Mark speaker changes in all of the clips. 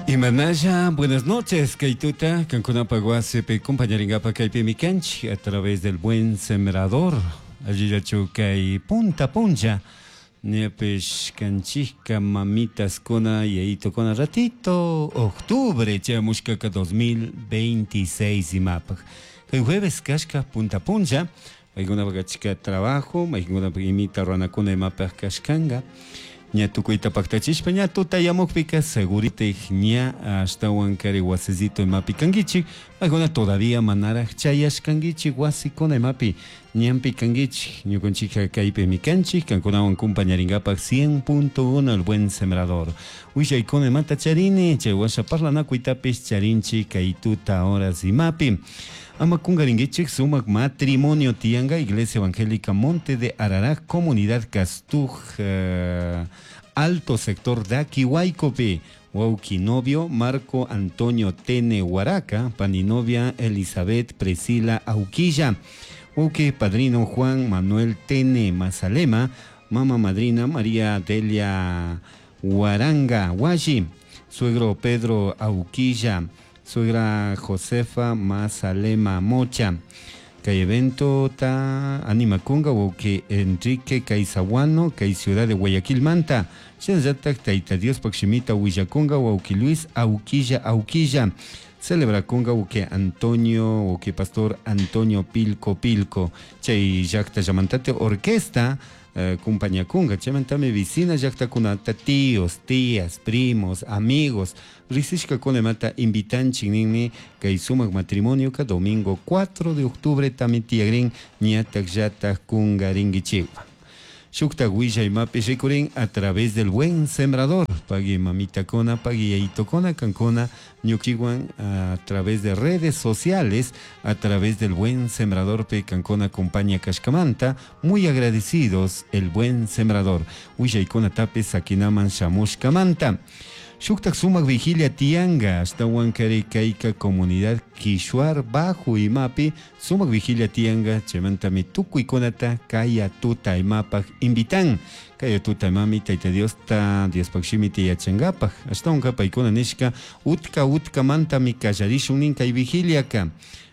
Speaker 1: Imanalla, buenas noches, kay tuta, kankunapa wasipi compañeringapa kaypimi kanchik a través del Buen Sembrador. Allillachu kay punta puncha, ñapish kanchikka mamitaskuna yayitokuna ratito octubre chayamushkaka 2026 imapaj. Kay jueves kashka punta puncha, paykunapak achka trabajo, maykunapaq imita ruranakuna imapaj kashkanga. Ña tukuyta paktachishpa ña tutayamukpika seguritik ña ashtawan kari wasisito imapi kankichik, paykuna todavía manaraj chayashkankichik wasikuna imapi ñanpi kankichik, ñukanchikka kaypimi kanchik, kankunawan compañarinkapak 100.1 El Buen Sembrador. Willaykuna imata charini, chay washa parlanakuytapish charinchik kay tuta horas imapi. Ama kungarinkichik sumak matrimonio tiyanka Iglesia Evangélica Monte de Ararat, Comunidad Castuj, Alto Sector Daquihuaycopi. Wauki novio Marco Antonio Tene Huaraca, paninovia Elizabeth Priscila Auquilla, Wauki padrino Juan Manuel Tene Mazalema, mama madrina María Delia Huaranga Huashi, suegro Pedro Auquilla, suegra Josefa Mazalema Mocha. Kay evento ta animakunga wauki Enrique Caizahuano, kay ciudad de Guayaquil manta. Shinallatak Tayta Diospak shimita willakunga wauki Luis Auquilla Auquilla. Celebrakunga wauki Antonio, wauki Pastor Antonio Pilco Pilco. Chay llakta llamantate orquesta compañakunga. Chaymantami vecina llaktakunata, tíos, tías, primos, amigos, riksishkakuna imata invitanchik ninmi kay sumak matrimonioka domingo 4 de octubre tami tiyagrin ñatak llatak kungarinkichikwan. Shuktak willay imapi rikurin a través del Buen Sembrador. Pagui mamitakuna, pagui yayitokuna, kankuna ñukiwan a través de redes sociales, a través del Buen Sembrador pe kankuna compañía kashkamanta, muy agradecidos el Buen Sembrador. Willaykuna tapi sakinaman shamushkamanta. Shuktak sumak vigilia tianga, ashtawan kari kayka comunidad Quishuar Bajo imapi, sumak vigilia tianga, chaymantami tukuykunata kaya tuta imapak invitan. Kaya tuta imami Tayta Diosta, Diospak shimita yachankapak. Ashtawanka paykuna nishka, utka utkamantami kallarishun nin kay vigiliaka.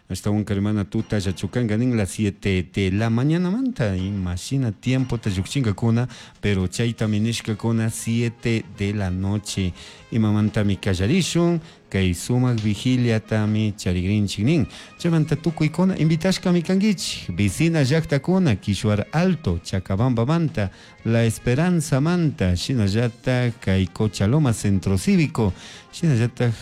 Speaker 1: Ashtawanka hermana tuta llachukanka nin las 7 de la mañana manta, imagina tiempo ta llukshinkakuna, pero chaytami nishkakuna 7 de la noche. Imamantami kallarishun, kay sumak vigiliatami charigrinchik nin. Chaymanta tukuykuna invitashkami kankichik, vecina llaktakuna, Quishuar Alto, Chacabamba manta, La Esperanza manta, shinallatak kay Cochaloma Centro Cívico, shinallatak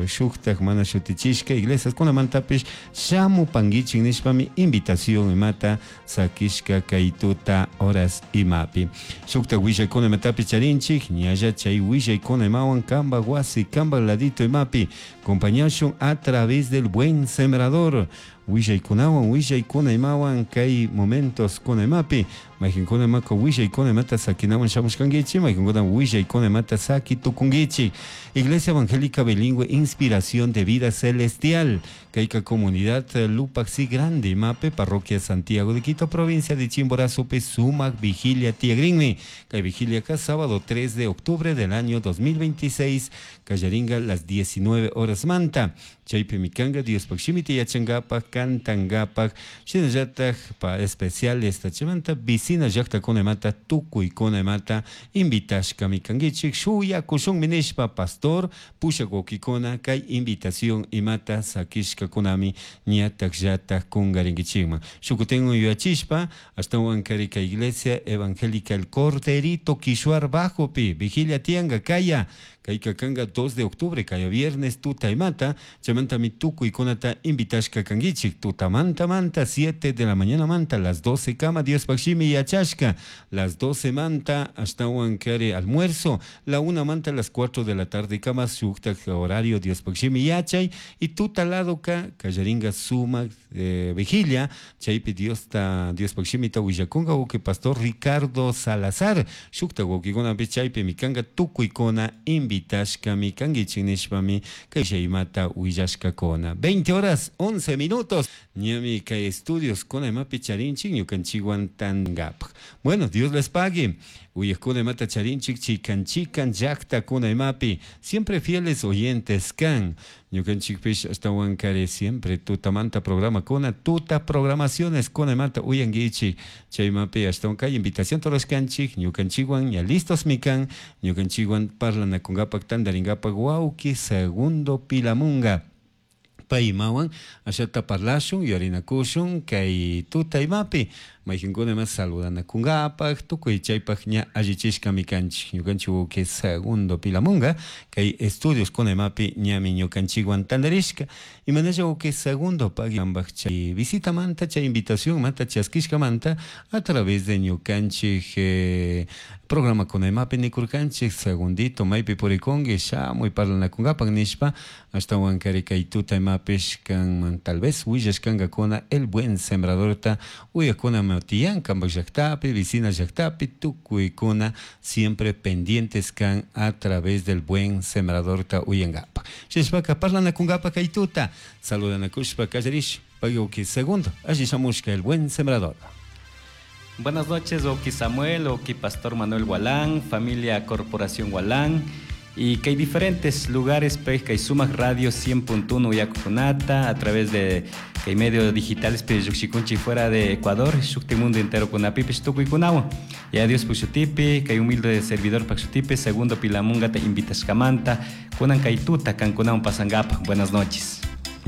Speaker 1: shuktak mana shutichishka iglesias kunamantapish shamupankichik nishpami invitación imata sakishka kay tuta horas imapi. Shuktak willaykuna imatapish charinchik, ñalla chay willaykuna imawan kamba wasi, kamba ladito imapi, compañashun a través del Buen Sembrador. Willaykunawan, willaykuna imawan kay momentos kuna imapi, mayqinkuna imaka willaykuna imata sakinawan shamushkankichik, mayqinkuna willaykuna imata saki tukunkichik. Iglesia Evangélica Bilingüe, Inspiración de Vida Celestial, kayka comunidad Lupaxi Grande, imape, parroquia Santiago de Quito, provincia de Chimborazo, sumak vigilia tiagrinmi. Kay vigilia ka sábado 3 de octubre del año 2026, kallaringa las 19 horas manta. Chaypi mikanga Diospak shimita yachankapak, kantankapak, shinallatak pa especial esta chaymanta vecina llaktakuna imata tukuykuna imata invitashkami kankichik, shuyakushunmi nishpa pastor pushak wawkikuna kay invitación imata sakishkakunami ñatak llatak kungarinkichikman. Shukutin yuyachishpa ashtawan kari kay Iglesia Evangélica El Corderito Quishuar Bajopi vigilia tianga kaya kayka kanga 2 de octubre kaya viernes tuta imata, chaymantami tukuykunata invitashka kankichik, tutamanta manta 7 de la mañana manta las 12 kama Diospak shimi yachashka, las 12 manta ashtawan kari almuerzo, la 1 manta las 4 de la tarde kama shuktak horario Diospak shimi yachay y tuta lado ka kallaringa sumak vigilia, chaypi Diosta Diospak shimita willakunka wawqi pastor Ricardo Salazar, shuktak wawqikunapi chaypi mikanga tukuykuna invitashkami kankichik nishpami kay imata willashkakuna. 20 horas 11 minutos. Listos. Ñami kay estudios kuna imapi charinchik ñukanchikwan tangapaj. Bueno, Dios les pague. Uyakuna imata charinchik chikan chikan llaqtakuna imapi. Siempre fieles oyentes kan. Ñukanchikpish ashtawan kari siempre tutamanta programa kuna tuta programaciones kuna imata uyankichik. Chaymapi ashtawan kay invitación rurashkanchik ñukanchikwan ña listos mikan ñukanchikwan parlanakunkapak tantarinkapak wawki Segundo Pilamunga. Paymawan ashata parlashun yuyarinakushun kay tuta imapi mayqinkuna ima saludanakunkapaq tukuy chaypaq ña allichishkami kanchik ñukanchik wawqi Segundo Pilamunga kay estudios kuna imapi ñami ñukanchikwan tantarishka imanalla wawqi Segundo pagambaq chay visitamanta chay invitación manta chaskishkamanta a través de ñukanchik programa kuna imapi nikurkanchik Segundito maypi purikunki shamuy parlanakunkapaq nishpa ashtawan kari kay tuta imapish kanman tal vez willashkankakuna el buen sembradorta uyakuna tiyan kanpak llaqtapi vecina llaqtapi tukuykuna siempre pendientes kan a través del buen sembradorta uyankapaq chayshpaka parlanakunkapaq kay tuta saludanakushpa kallarish pagui Segundo alli shamushka el buen sembrador.
Speaker 2: Buenas noches, Oki Samuel, Oki Pastor Manuel Gualán, familia Corporación Gualán, y que hay diferentes lugares, pues, que hay Sumac Radio 100.1 Yakukunata, a través de que hay medios digitales, pues, Yuxikunchi fuera de Ecuador, Shukti mundo entero con Apipish Tukuy Kunawa. Y adiós Puxutipi, que hay humilde servidor Paxutipi, Segundo Pilamunga te invitas Camanta, Kunan Kaituta, Kankunaun Pasangapa. Buenas noches.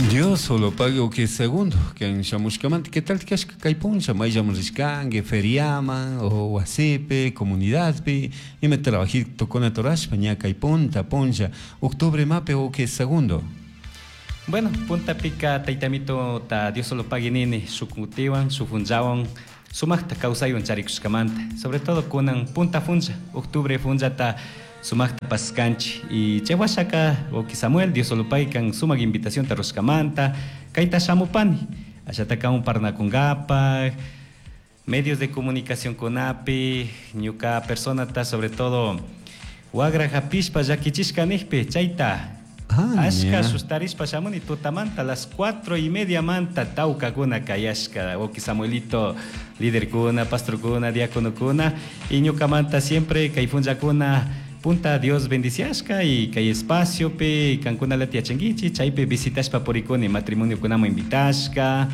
Speaker 1: Dios solo pague que segundo que en shamushkamanta ¿qué tal kashka kay puncha mayllaman rishkanki feriaman o wasipi comunidadpi ima trabajito kunata rurashpa ña kay punta puncha octubre mapi o que segundo?
Speaker 2: Bueno, punta pica taitamito ta Dios solo pague nini shukutiwan shufunchawan sumaqta kawsaywan charikushkamanta, sobre todo kunan punta funcha octubre funcha ta sumaqta paskanchik y chay washaka wawqi Samuel Dios solo pague kan sumaq invitación ta rushkamanta kayta shamupani ashata kamun parlanakunkapaq medios de comunicación kunapi ñuka personata sobre todo wagra hapishpa llakichishka nijpi chayta ashka sustarishpa shamuni tutamanta las 4:30 manta tawkakuna kayashka wawqi Samuelito líderkuna pastorkuna diaconokuna y ñukamanta siempre kay funchakuna punta Dios bendiciashka y kay espaciopi kankunalata yachankichik chaypi visitashpa purikuni matrimoniokunaman invitashka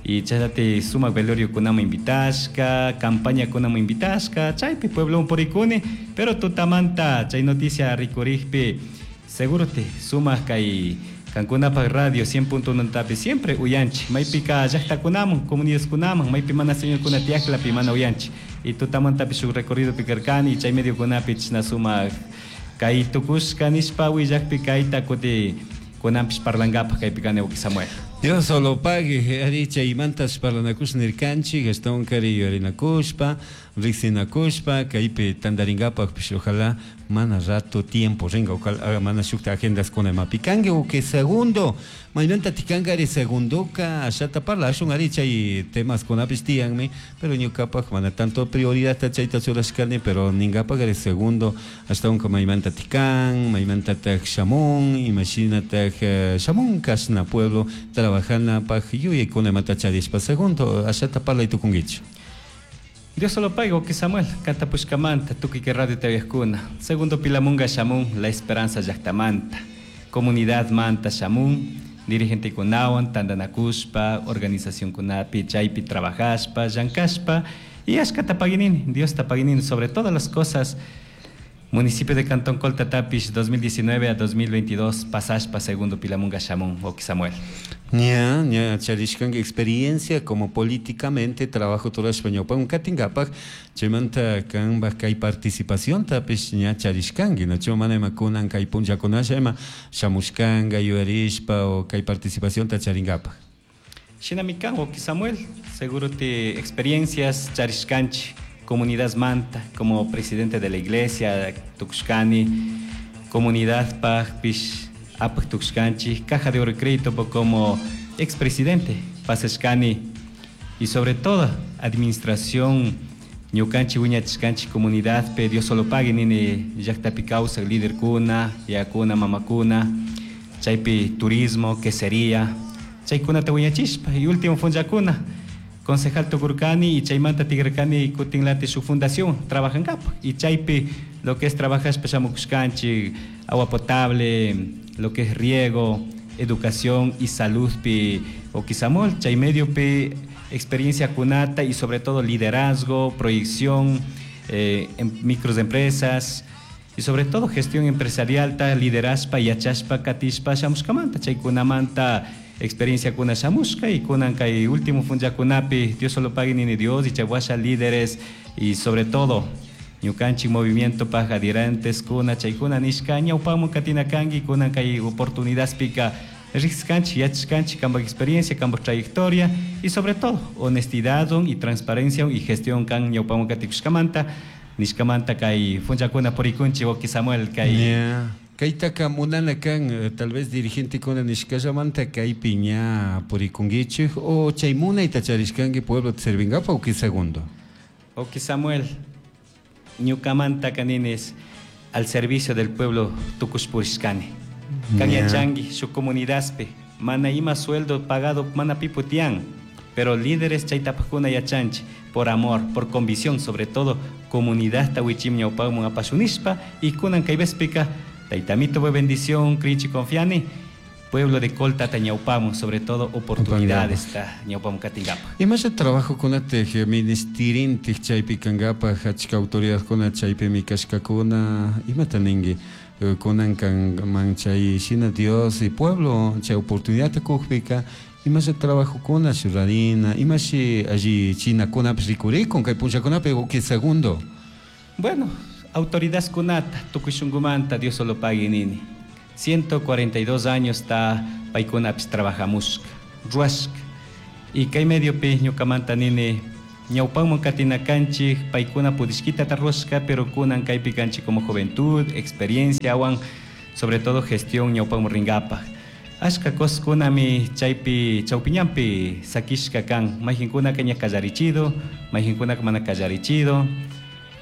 Speaker 2: y chaylati sumak veloriokunaman invitashka campañakunaman invitashka chaypi puebloman purikuni pero tutamanta chay noticia rikurikpi seguro te sumak kay kankunapak radio 100.1 tapi siempre uyanchik maypika llaqtakunaman comunidadkunaman maypi mana señorkuna tiyaqlapi mana uyanchik y tutamantapi shuk recorrido pikarkani chay mediokunapi chashna sumak kay tukushka nishpa willakpi kayta kuti kunanpish parlankapaq kaypi kani wawqi Samuel.
Speaker 1: Dios solo pague, ari chaymantas parlanakush nirkanchik, ashtawan kari yuyarinakushpa, riqsinakushpa, kaypi tantarinkapaqpish ojalá mana rato tiempo ringa, ojalá mana shukta agendas kuna imapi kanki wawqi Segundo, maymanta tikanka ari Segundoka ashata parlashun ari chay temas kunapish tiyanmi, pero ñukapaq mana tanto prioridad chayta churashkani, pero ninkapak ari Segundo ashtawanka maymanta tikan, maymantataq shamun, imashinataq shamun kashna pueblo trabajanapak yuyaykuna imata charishpa Segundo ashata parlay tukunkichik.
Speaker 2: Dios solo pague, wawqi Samuel, kantapushkamanta, tukuy kay radio tawiyakuna. Segundo Pilamunga shamun, La Esperanza llaqtamanta, comunidad manta shamun, dirigente kunawan, tantanakushpa, organización kunapi, chaypi trabajashpa, llankashpa, y ashkata paguinini, Dios ta paguinini sobre todas las cosas. Municipio de Cantón Colta Tapish, 2019 a 2022, pasashpa Segundo Pilamunga shamun, wawqi Samuel.
Speaker 1: Ña, ña charishkanki experiencia como políticamente trabajo turashpa ñawpaman katinkapak, chaymanta kanpak kay participación tapish ña charishkanki, nachu mana ima kunan kay punllakunasha ima shamushkanka yuyarishpa o kay participacionta charinkapak.
Speaker 2: Shinami kan, wawqi Samuel, seguro te experiencias charishkanchik, comunidad manta, como presidente de la iglesia, tukushkani, comunidad pajpish, apak tukushkanchik, Caja de Oro y Crédito como expresidente, pasashkani, y sobre todo administración ñukanchik wiñachishkanchik comunidad pe Dios solo pague nini llaqtapi kawsak líder kuna, yakuna, mamakuna, chaypi turismo, quesería, Chaykunata wiñachispa y último funchakuna concejal tukurkani y chaymanta tigrarkani kutinlati su fundación trabajankapaj y chaypi lo que es trabajashpa shamukushkanchik agua potable, lo que es riego, educación y salud pi Oquisamol, chay medio pi experiencia kunata y sobre todo liderazgo, proyección en microempresas y sobre todo gestión empresarial ta liderazpa yachashpa katishpa shamushkamanta chaykunamanta experiencia kuna shamushka y kunan kay último funchakunapi Dios solo pague nini Dios y chaywasha líderes y sobre todo ñukanchik movimiento paj adherentes kuna chaykuna nishka ñawpaman katina kanki kunan kay oportunidadpika riqskanchik yachashkanchik kanpak experiencia, kanpak trayectoria y sobre todo honestidad y transparencia y gestión kan ñawpaman katikushkamanta nishkamanta kay funchakuna purikunchik wawki Samuel kay.
Speaker 1: Kaytaka munana kan tal vez dirigentekuna nishkallamanta kaypi ña purikunkichik o chay munayta charishkanki pueblota servinkapak wawki Segundo.
Speaker 2: Wawki Samuel, ñukamanta kaninis al servicio del pueblo tukush purishkani. Kan yachanki shuk comunidadpi mana ima sueldo pagado mana pipu tiyan, pero líderes chaytapakuna yachanchik por amor, por convicción, sobre todo comunidadta wichim ñawpakman apashunishpa y kunan kay vespika taytamito bendición, crinchi confiani, pueblo de Colta ta ñawpamun, sobre todo oportunidades ta ñawpamun katingapaj.
Speaker 1: Imasha trabajo kunatej ministerintij chaypi kankapaj achka autoridadkuna chaypimi kashkakuna, imata ninki kunan kanman chay shina Dios y pueblo chay oportunidadta kukpika imasha trabajokuna rurarina, imashi alli chinakunapish rikurikun kay punllakunapi wawki Segundo.
Speaker 2: Bueno, autoridadkunata tukuy shunkumanta Dios solo pague nini. 142 años ta paykunapish trabajamushka, ruwashka. Y kay mediopi ñukamanta nini ñawpanman katina kanchik paykuna pudishkita ta ruwashka, pero kunan kaypi kanchik como juventud, experiencia wan, sobre todo gestión ñawpanman rinkapaj. Ashka coskunami chaypi chawpiñanpi sakishka kan, mayqinkunaka ña kallarichido, mayqinkunaka mana kallarichido,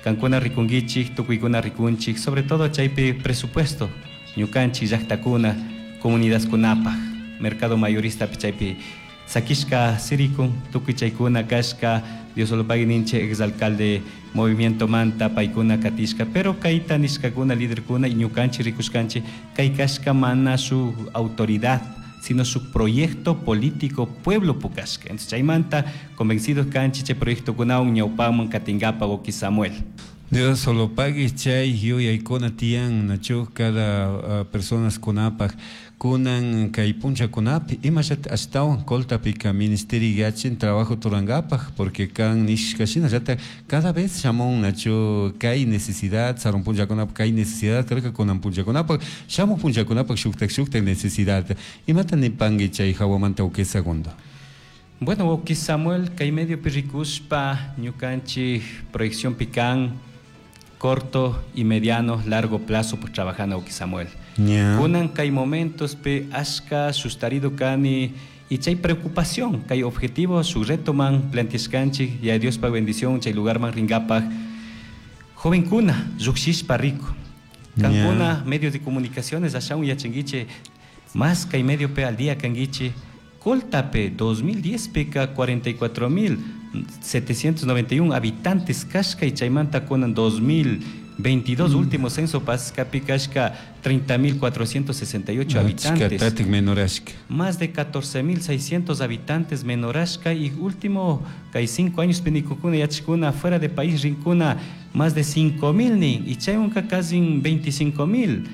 Speaker 2: kankuna rikunkichik, tukuykuna rikunchik, sobre todo chaypi presupuesto ñukanchik llaqtakuna, comunidadkunapaj, mercado mayorista chaypi sakishka sirikun, tukuy chaykuna kashka, Dios solo pague ninche exalcalde movimiento manta paykuna katishka, pero kayta nishkakuna líderkuna y ñukanchik rikushkanchik kay kashka mana su autoridad, sino su proyecto político pueblo pukashka. Entonces chaymanta convencidos kanchik chay proyectokunawan ñawpaman katingapa wawki Samuel.
Speaker 1: Dios solo pague chay yuyaykuna tiyan nachu cada personas kunapaj kunan kay punchakunapi imallata ashtawan Coltapika ministerio yachin trabajo turankapaj porque kan nishka shinallata cada vez shamun nachu kay necesidad sarun punchakunapaj kay necesidad karka kunan punchakunapaj shamuj punchakunapaj shuktak shuktak necesidad imata nipanki chay hawamanta wawki Segundo.
Speaker 2: Bueno, wawki Samuel, kay medio rikushpa ñukanchik proyección pican corto y mediano, largo plazo, pues trabajando wawki Samuel. Kunan kay momentos pe ashka sustarido kani y chay preocupación, kay objetivo su reto man planteashkanchik y a Dios pa bendición chay lugar man ringapaj. Joven kuna, lluqshishpa rico. Kankuna medios de comunicaciones ashaun yachanguiche más kay medio pe al día kanguiche Coltape 2010 peka 44.791 habitantes kashka y chaymanta kunan 2022 último censo pascapi kashka 30.468 habitantes.
Speaker 1: Tatik menorashka.
Speaker 2: Más de 14.600 habitantes menorashka y último kay 5 años penikukuna yachikuna fuera de país rinkuna más de 5.000 ni y chayunka casi 25.000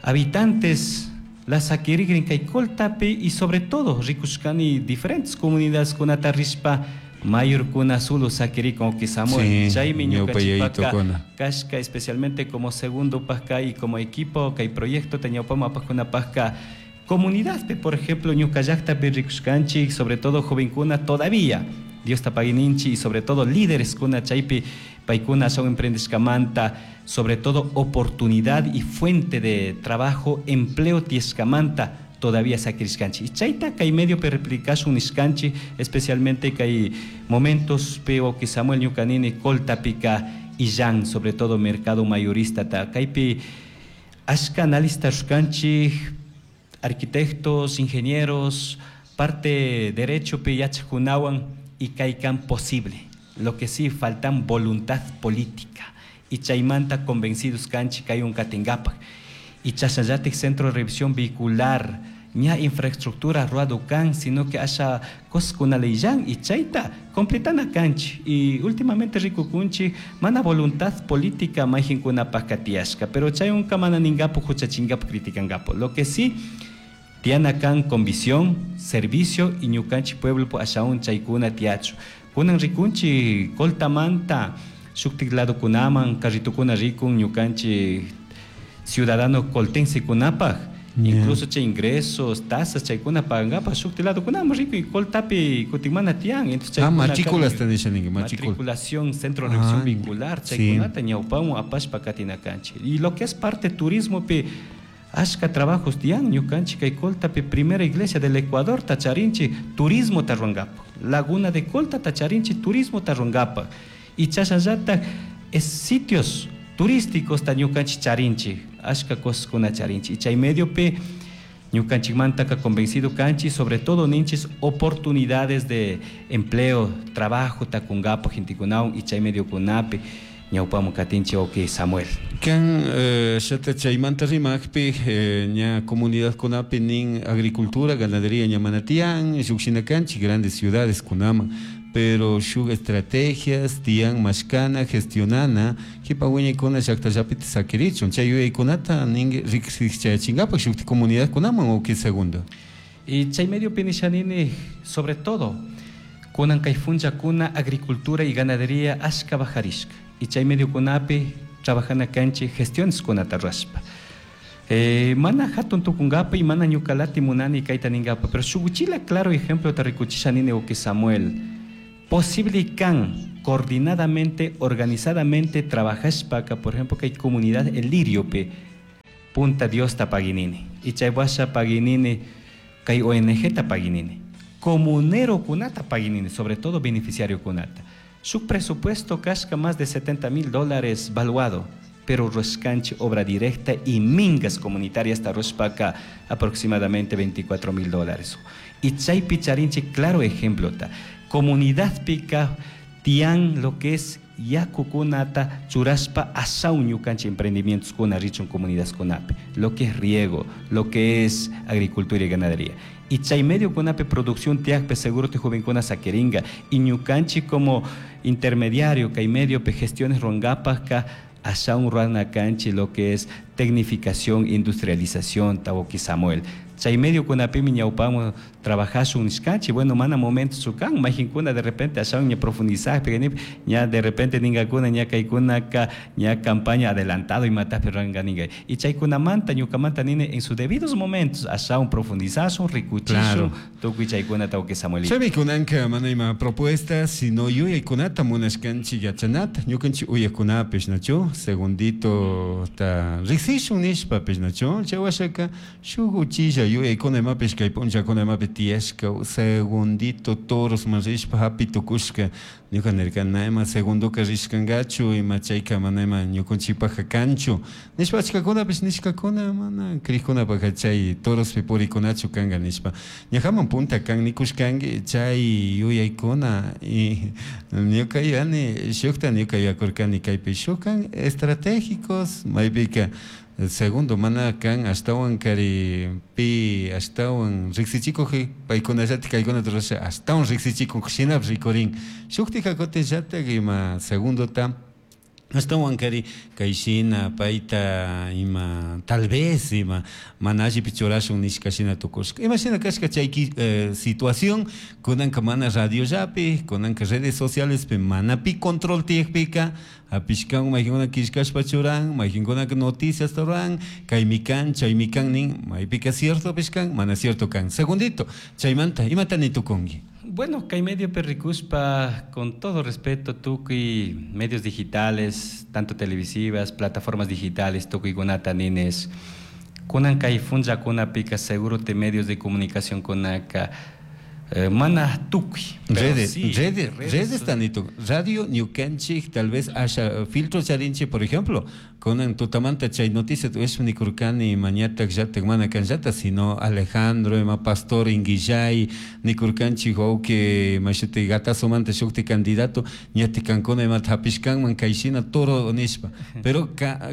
Speaker 2: habitantes. La saquirigrin kay Coltape y sobre todo rikushkani diferentes comunidades kunata rishpa mayor kuna solo saquirikon que Samuel chaymi ñukanchikpaka kashka especialmente como segundo pajka y como equipo kay proyecto teñawpama pajkuna pajka comunidad pe por ejemplo ñuka llaqtapi rikushkanchik sobre todo jovenkuna todavía Dios tapaguininchi y sobre todo líderes kuna chaypi paykuna son emprendishkamanta sobre todo oportunidad y fuente de trabajo, empleo tiescamanta todavía saquirishkanchik. Y chayta kay medio pe replicashun nishkanchik, especialmente kay momentos peo que Samuel ñukanini Coltapika y Jan, sobre todo mercado mayorista ta kaypi ashka analista rushkanchik, arquitectos, ingenieros, Parte derecho pi yachakunawan y kaykan posible. Lo que sí faltan voluntad política. Y chaymanta convencidos kanchik kaywan katinkapak. Y chashnallatik centro de revisión vehicular ña infraestructura ruwado kan, sino que asha cosaskunalillan y chayta completana kanchik. Y últimamente rikukunchik mana voluntad política mayqinkunapaq tiyashka, pero chaywanka mana ninkapu huchachinkapu criticankapu. Lo que sí tiyana kan con visión, servicio y ñukanchik pueblo ashawan chaykuna tiyachu. Kunan rikunchik Coltamanta shuktik ladokunaman carritukuna rikun ñukanchik ciudadano coltense kunapaj. Incluso chay ingresos, tasas chaykuna pagankapak shuktik ladokunaman rikun y Coltapi kutin mana tiyan. Entonces chaykuna
Speaker 1: matrículas te dicen, matrícula.
Speaker 2: Matriculación, centro de revisión vehicular, chaykunata ñawpawan apashpa katina kanchik. Y lo que es parte turismo pi ashka trabajos tiyan ñukanchik kay Coltapi primera iglesia del Ecuador tacharinchik turismo tarruangapak. Laguna de Colta tacharinchik turismo tarruangapak. Y chashnallatak es sitios turísticos ta ñukanchik charinchik, ashka cosas charinchik. Y chay medio pi ñukanchikmantaka convencido kanchik, sobre todo ninchis oportunidades de empleo, trabajo takungapak gentekunawan y chay medio kunapi ñawpamun katinchik wawki Samuel.
Speaker 1: Kan shata chaymanta rimakpi ña comunidad kunapi nin agricultura, ganadería ña mana tiyan, shuk kanchik grandes ciudades kunaman, pero shuk estrategias tiyan mashkana, gestionana, kipa wiñaykuna llaqtallapi sakirichun, chay yuyaykunata nin riksichayachinkapak shuk comunidad kunaman wawki Segundo.
Speaker 2: Y chay medio pinishanini, sobre todo, kunan kay funchakuna agricultura y ganadería ashka bajarishka. Y chay medio kunapi trabajana kanchik gestiones kunata ruwashpa. Mana hatun tukunkapa y mana ñukalati munani kayta ninkapa, pero shuk uchila claro ejemplo ta rikuchishanini wawki Samuel. Posible kan coordinadamente, organizadamente trabajashpaka, por ejemplo, kay comunidad El Liriope, Punta Dios ta paginini. Y chay washa paginini, kay ONG ta paginini. Comunero kunata paginini, sobre todo beneficiario kunata. Su presupuesto kashka más de $70,000 valuado, pero ruashkanchik obra directa y mingas comunitarias ta ruashpaka aproximadamente $24,000. Y chaypi charinchik claro ejemplo ta. Comunidad pica tian lo que es yakukunata churashpa ashaw ñukanchik emprendimientos kuna richun comunidades kunapi, lo que es riego, lo que es agricultura y ganadería. Y chay medio kunapi producción tiakpe seguro te jovencuna saqueringa y ñukanchik como intermediario kay medio pe gestiones ruangapajka ashaw ruana kanchi lo que es tecnificación, industrialización, tawoki Samuel. Chay medio kunapimi ñawpamo trabajashun nishkanchik, bueno, mana momento sukan, mayqinkuna de repente ashawan ña profundizajpi, ña de repente ninkakuna ña kaykunaka ña campaña adelantado imatapi ruranka ninka. Y chaykunamanta ñukamanta nini en sus debidos momentos ashawan profundizashun, rikuchishun, tukuy chaykunata wawki Samuelito.
Speaker 1: Chaymi kunanka mana ima propuestas, sino yuyaykunata munashkanchik yachanata, ñukanchik uyakunapish, nachu? Segundito ta riksishun nishpapish, nachu? Chay washaka shuk uchilla yuyaykuna imapish kay punllakuna imapi tiyashka, segundito toros man rishpa hapi tukushka, ñuka nirka na ima segundoka rishkankachu, ima chayka mana ima ñukanchikpajka kanchu nishpa achkakunapish nishkakuna mana krikkunapajka chay torospi purikunachu kanka nishpa ñajaman punta kan nikushkanki chay yuyaykuna y ñuka yuyani shukta ñuka yuyakurkani kaypi shuk kan estratégicos maypika segundo mana kan ashtawan kari pi ashtawan riksichikuji paykunallatik kaykunata rurasha ashtawan riksichikuk shinapish rikurin shuktika kutinllatak ima segundota ashtawan kari kay shina payta ima tal vez ima mana allipi churashun nishka shina tukushka ima shina kashka chay situación kunanka mana radiollapi kunanka redes socialespi mana pi control tiyakpika hapishkan mayqinkuna killkashpa churan mayqinkunaka noticias ruran kaymi kan chaymi kan nin maypika cierto kan mana cierto kan. Segundito chaymanta imata nitukunki.
Speaker 2: Bueno, kay medio rikushpa, con todo respeto, tukuy medios digitales, tanto televisivas, plataformas digitales, tukuykunata nines, kunan kay funchakunapika seguro te medios de comunicación kunaka mana tukuy.
Speaker 1: Redes, sí, redes tanito. Radio ñukanchik tal vez haya filtro charinchik, por ejemplo, Kunan tutamanta chay noticia uyashpa nikurkani mañatak llatak mana kanllata, sino Alejandro ima Pastor Inguillay nikurkanchik wawki mashuti Gatasomanta shukti candidato ñatik kankuna imata hapishkanman kayshina toro nishpa. Pero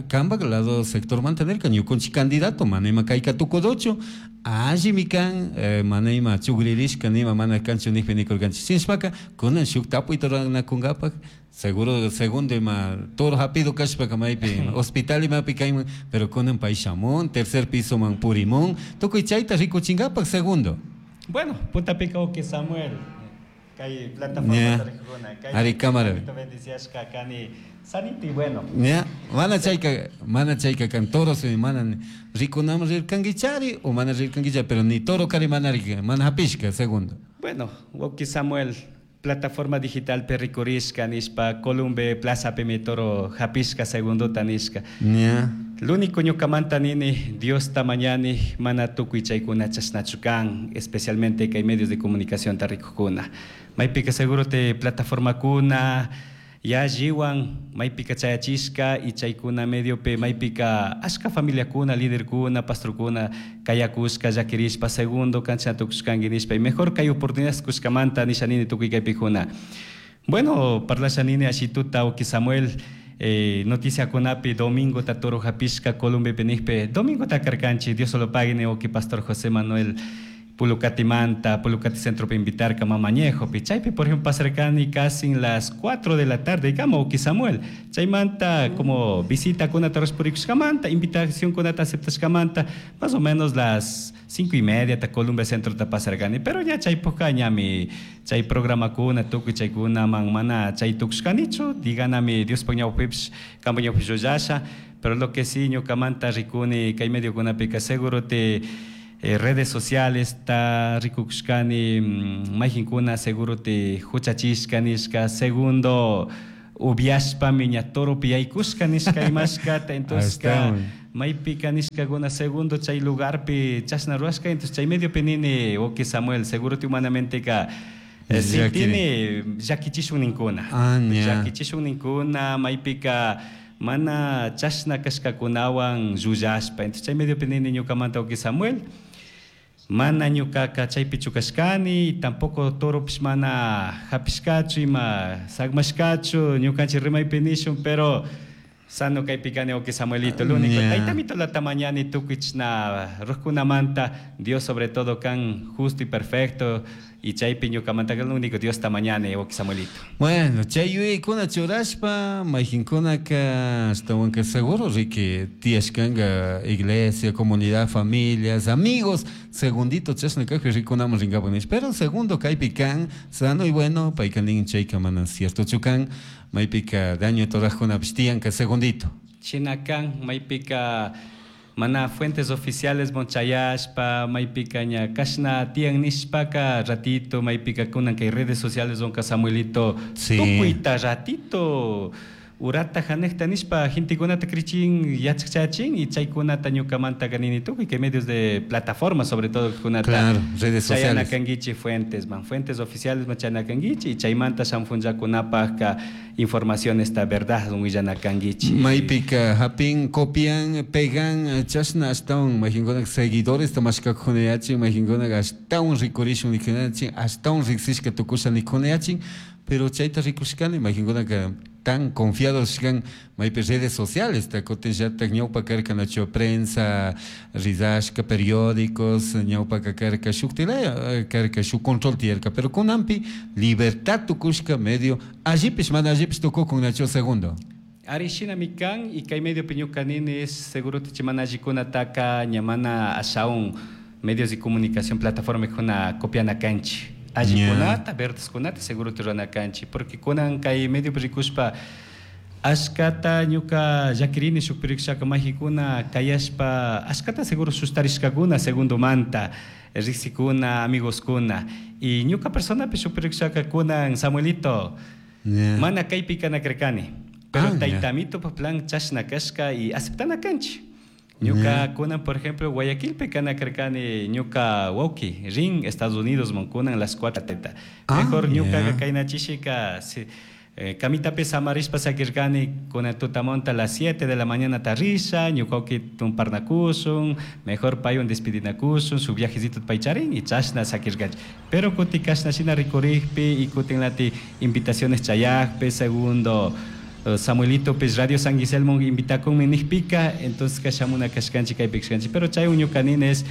Speaker 1: kampak lado sectormanta nirka ñukunchik candidato mana ima kayka tukuduchu, allimi kan mana ima chukririshka nima mana kanchu nijpi nikurkanchik. Shinashpaka kunan shuk tapuyta ruranakunkapak seguro segundo ima toro hapido kashpaka maypi hospital imapi kayman, pero kunan pay shamun tercer piso man purimun tukuy chayta rikuchinkapak segundo.
Speaker 2: Bueno, puntapika wawki Samuel kay plataforma rikukuna kay
Speaker 1: Ari cámara.
Speaker 2: Bendiciashka kani sanito y bueno.
Speaker 1: Ya, mana chayka kan toro si mana rikunaman rirkankichari o mana rirkankichari, pero ni toro kari mana mana hapishka segundo.
Speaker 2: Bueno, wawki Samuel plataforma digital perrikurishka nishpa Columbe Plaza pimi toro hapishka segundo tanishka.
Speaker 1: Ya.
Speaker 2: Lo único ñukamanta nini Dios tamañani mana tukuy chaykuna chashnachu kan, especialmente kay medios de comunicación tarikukuna. Maypika seguro te plataforma kuna yalliwan maypika chayachishka y chaykuna mediope maypika ashka familiakuna líderkuna pastorkuna kayakushka llakirishpa segundo kancha tukushkanki nishpa y mejor kay oportunidades kushkamanta nisha nini tukuy kaypikuna. Bueno, parlasha nini ashituta wawki Samuel noticia kunapi domingo ta toro hapishka Columbe nijpi domingo ta karkanchik Dios solo pague wawki pastor José Manuel Pulucatimanta, Pulucati Centro pa invitarka Mamañejopi. Chaypi, por ejemplo, pasarkani casi en las 4 de la tarde, digamos, wawki Samuel. Chaymanta, como visita kunata rurashpurikushkamanta, invitación kunata aceptashkamanta, más o menos las 5:30 ta Columbia Centro ta pasarkani. Pero ya chaypukka ñami, chay programa kuna, tukuy chaykuna man mana chay tukushkanichu, diganami Diospaj ñawpipish, kampak ñawpish llullashá. Pero lo que sí, ñukamanta rikuni, kay medio kunapika seguro te redes sociales ta rikukushkani, mayjinkuna seguro te huchachishka nishka, segundo ubiashpami ña toropi yaykushka nishka imashkata, entonces ka maypika nishkakuna segundo chay lugarpi chashna rurashka, entonces chay mediopi nini wawki Samuel seguro te humanamente ka sintini llakichishun ninkuna. Llakichishun ninkuna maypika mana chashna kashkakunawan llullashpa, entonces chay mediopi nini ñukamanta wawki Samuel mana ñukaka chaypi chukashkani, tampoco toropish mana hapishkachu ima sagmashkachu ñukanchik rimaypi nishun, pero sano kaypi kani wawki Samuelito, lo único taytamito latamañani tukuy chashna rujkunamanta, Dios sobre todo kan justo y perfecto, y chaypi ñukamanta lo único Dios tamañani wawki Samuelito.
Speaker 1: Bueno, chay yuyaykuna churashpa mayqinkunaka ashtawanka seguro riki tiyashkanka iglesia, comunidad, familias, amigos, segundito chashna kajpi rikunaman rinkapak nish, pero segundo kaypi kan sano y bueno, payka nin chayka mana ciertochu kan, maypika daño torajkunapish tiyanka segundito.
Speaker 2: Shina kan maypika mana fuentes oficiales monchayashpa maypika ña kashna tiyan nishpaka ratito maypika kunan kay redes sociales onka Samuelito tukuyta ratito urata hanejta nishpa gentekunata krichin yachachachin y chaykunata ñukamanta kanini tukuy kay medios de plataforma sobre todo kunata.
Speaker 1: Claro, redes sociales.
Speaker 2: Chayanakankichi fuentes man, fuentes oficiales man chayanakankichi y chaymanta shamfunchakunapajka información esta verdad willanakankichi.
Speaker 1: Maypika hapin copian pegan chashna ashtawan mayqinkuna seguidores tamashkakunayachin mayqinkuna ashtawan rikurishun nikunachin ashtawan riksishka tukusha nikunayachin, pero chayta rikushkani mayqinkunaka tan confiados kan maypi redes sociales ta kutin llatak ñawpa karka nacho prensa rizashka periódicos ñawpa karka shuktilaya karka shuk control tiyarka, pero kunanpi libertad tukushka medio allipish mana allipish tukukun nacho segundo.
Speaker 2: Ari shinami kan y kay medio ñuka nini es seguro te mana allikunataka ña mana ashaun medios de comunicación plataforma kuna copiana kanchi. Allikunata, verdeskunata seguro te rurana kanchi, porque kunan kay medio rikushpa ashkata ñuka llakirini shuk pirikshaka majikuna kayashpa ashkata seguro sustarishkakuna segundo manta riksikuna amigos kuna y ñuka personapi shuk pirikshaka kunan Samuelito mana kaypi kana karkani, pero taytamito pa plan chashna kashka y aceptana kanchi. Ñuka kunan, por ejemplo, Guayaquilpi kana karkani ñuka wawki rin Estados Unidos mon kunan las 4 teta. Mejor ñuka kayna chishika si, Camitapi samarishpa sakirkani kunan tutamonta a las 7 de la mañana tarrisha, ñuka tumparnakushun, mejor paywan despidinakushun, su viajecito paycharin y chashna sakirkanchik. Pero kuti kashna shina rikurikpi y kutin lati invitaciones chayakpi, segundo Samuelito pues Radio San Guiselmo invitakunmi nikpika, entonces kashamuna kashkanchik kaypi kashkanchik. Pero chay ñuka nini es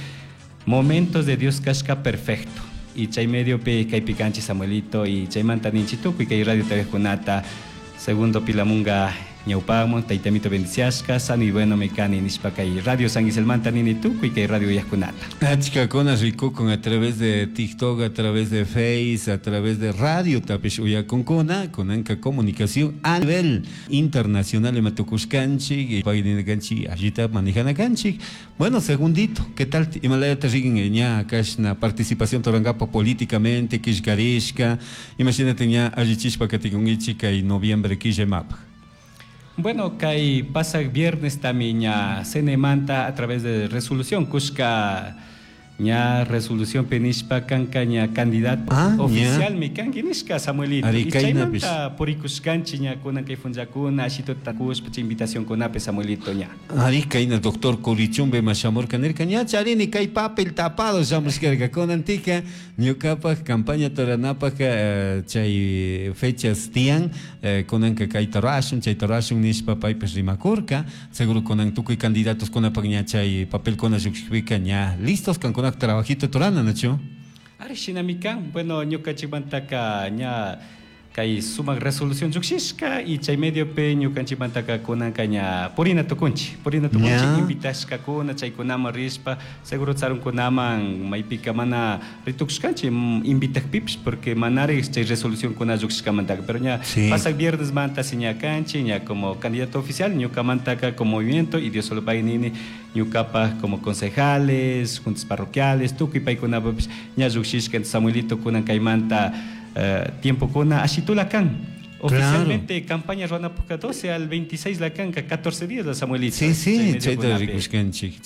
Speaker 2: momentos de Dios kashka perfecto. Y chay mediopi kaypi kanchik Samuelito y chaymanta ninchik tukuy kay radio kunata segundo pilamunga ñawpamun taytamito bendiciashka sano y bueno me kani nishpa kay radio San Guiselmanta nini tukuy kay radio uyajkunata.
Speaker 1: Achkakuna rikukun a través de TikTok, a través de Face, a través de radio tapish uyakunkuna kunanka comunicación a nivel internacional ima tukushkanchik payninkanchik allita manejana kanchik. Bueno, segundito, ¿qué tal imalayata rigin ña kashna participación torangapo políticamente killkarishka imagínate ña allichishpa katikunkichik kay noviembre killa imapaj?
Speaker 2: Bueno, kay pasaq viernes también ña CNE-manta a través de resolución kushka ña resolución penishpa kanka ña candidato oficial mi kanki nishka Samuelito.
Speaker 1: Ari,
Speaker 2: Y
Speaker 1: kaynapish.
Speaker 2: chaymanta purikushkanchik ña kunan kay funchakuna ashito takushpa chay invitación kunapi Samuelito ña.
Speaker 1: Ari, kayna doctor Curichumbe mashamurka nirka ña charini kay papel tapado shamushkarka kunantika ñukapaj campaña toranapaj chay fechas tiyan kunanka kayta rurashun chayta rurashun nishpa paypish rimakurka seguro kunan tukuy candidatos kunapaj ña chay papelkuna llukshikpika ña listos kankunak trabajito torana, ¿nachu?
Speaker 2: Ari, shinami kan. Bueno, ñukanchikmantaka ña kay sumak resolución llukshishka y chay mediopi ñukanchikmantaka kunanka ña purina tukunchik, purina tukunchik, invitashkakuna chaykunaman rishpa seguro tsarunkunaman maypika mana ritukushkanchik, invitakpipish porque manari chay resolucionkuna llukshishkamantaka, pero ña pasak viernes manta si ña kanchik, ña como candidato oficial ñukamantaka como movimiento y Dios solo pague nini ñukapaj como concejales, juntas parroquiales, tukuy paykunapapish ña llukshishka. Entonces, Samuelito kunan kaymanta tiempo kuna ashitula kan. Oficialmente campaña ruanapuka 12 al 26 la kanka, 14 días la Samuelito.
Speaker 1: Sí, sí,
Speaker 2: Chay medio
Speaker 1: chayta
Speaker 2: kunapi.
Speaker 1: rikushkanchik.